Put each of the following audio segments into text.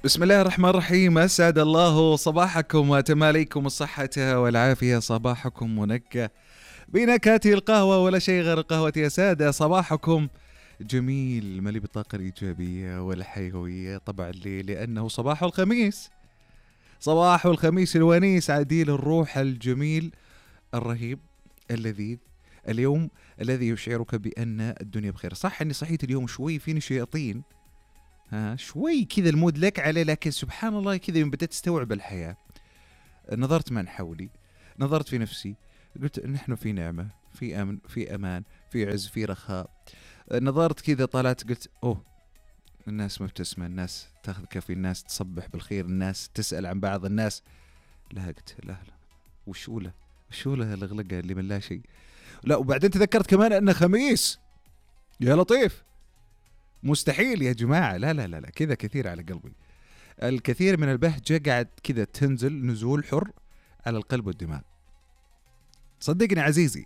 بسم الله الرحمن الرحيم. أسعد الله صباحكم وتماليكم الصحة والعافية. صباحكم منكه بنكهة القهوة ولا شيء غير القهوة يا سادة. صباحكم جميل مليء بالطاقة الإيجابية والحيوية طبعا لأنه صباح الخميس، صباح الخميس الونيس عديل الروح الجميل الرهيب اللذيذ، اليوم الذي يشعرك بأن الدنيا بخير. صح أني صحيت اليوم شوي فيني شياطين، شوي كذا المود لك عليه، لكن سبحان الله كذا يوم بدأت استوعب الحياة، نظرت من حولي، نظرت في نفسي، قلت نحن في نعمة، في أمن، في أمان، في عز، في رخاء. نظرت كذا طلعت قلت أوه، الناس مبتسمة، الناس تاخذ كافي، الناس تصبح بالخير، الناس تسأل عن بعض الناس. لا قلت لا وشوله الغلقة اللي من لا شيء. لا وبعدين تذكرت كمان أنه خميس. يا لطيف، مستحيل يا جماعة، لا لا لا لا كذا كثير على قلبي. الكثير من البهجة قاعد كذا تنزل نزول حر على القلب والدماغ. صدقني عزيزي،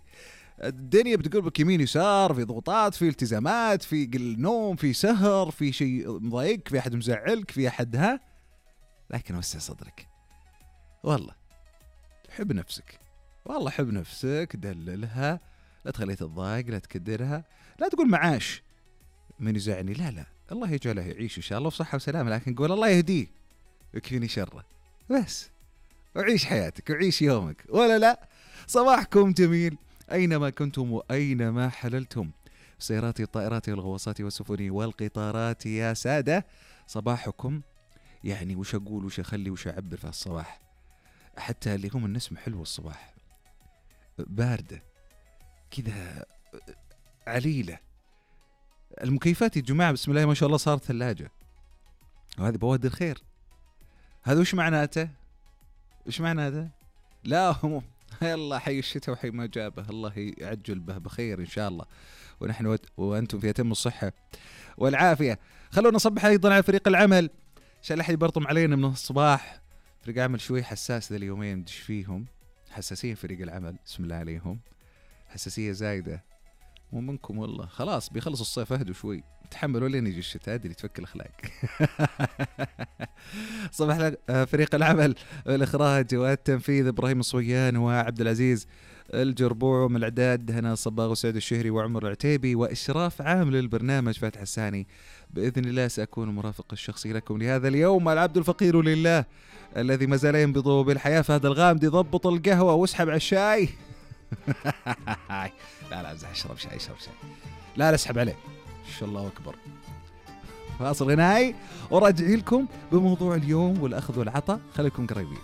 الدنيا بتقول بك يمين يسار، في ضغوطات، في التزامات، في قل نوم، في سهر، في شيء مضايقك، في أحد مزعلك، في أحد لكن وسع صدرك، والله حب نفسك، والله حب نفسك، دللها، لا تخليها تتضايق، لا تكدرها، لا تقول معاش من يزعني، لا لا، الله يجعله يعيش إن شاء الله بصحة وسلامة، لكن قول الله يهديه ويكفيني شره بس، وعيش حياتك وعيش يومك، ولا لا. صباحكم جميل أينما كنتم وأينما حللتم، سياراتي الطائرات والغواصات والسفن والقطارات يا سادة. صباحكم يعني وش أقول وش أخلي وش أعبر في الصباح، حتى اللي هم النسمة حلوة الصباح، باردة كذا عليلة. المكيفات يا جماعة بسم الله ما شاء الله صارت ثلاجة، وهذه بوادر الخير. هذا وش معناته؟ وش معناته؟ لا يلا حي الشتاء وحي ما جابه، الله يعجل به بخير إن شاء الله، ونحن وأنتم في أتم الصحة والعافية. خلونا نصبح أيضا على فريق العمل عشان لا أحد يبرطم علينا من الصباح. فريق عمل شوي حساس ذا اليومين، ندش فيهم حساسية. فريق العمل بسم الله عليهم، حساسية زايدة، مو منكم والله، خلاص بيخلص الصيف، اهدوا شوي، تحملوا لين يجي الشتاء، اللي تفك الاخلاق. صباح لك فريق العمل والاخراج والتنفيذ ابراهيم الصويان وعبد العزيز الجربوع، ومن الاعداد هنا صباغ وسعد الشهري وعمر العتيبي، واشراف عام للبرنامج فاتح الساني. باذن الله ساكون المرافق الشخصي لكم لهذا اليوم، العبد الفقير لله الذي ما زال ينبض بالحياه. فهد الغامدي ضبط القهوه واسحب على الشاي. لا امزح، اشرب شاي، لا اسحب عليه ان شاء الله اكبر. فاصل غنائي وراجعين لكم بموضوع اليوم والاخذ والعطاء، خليكم قريبين.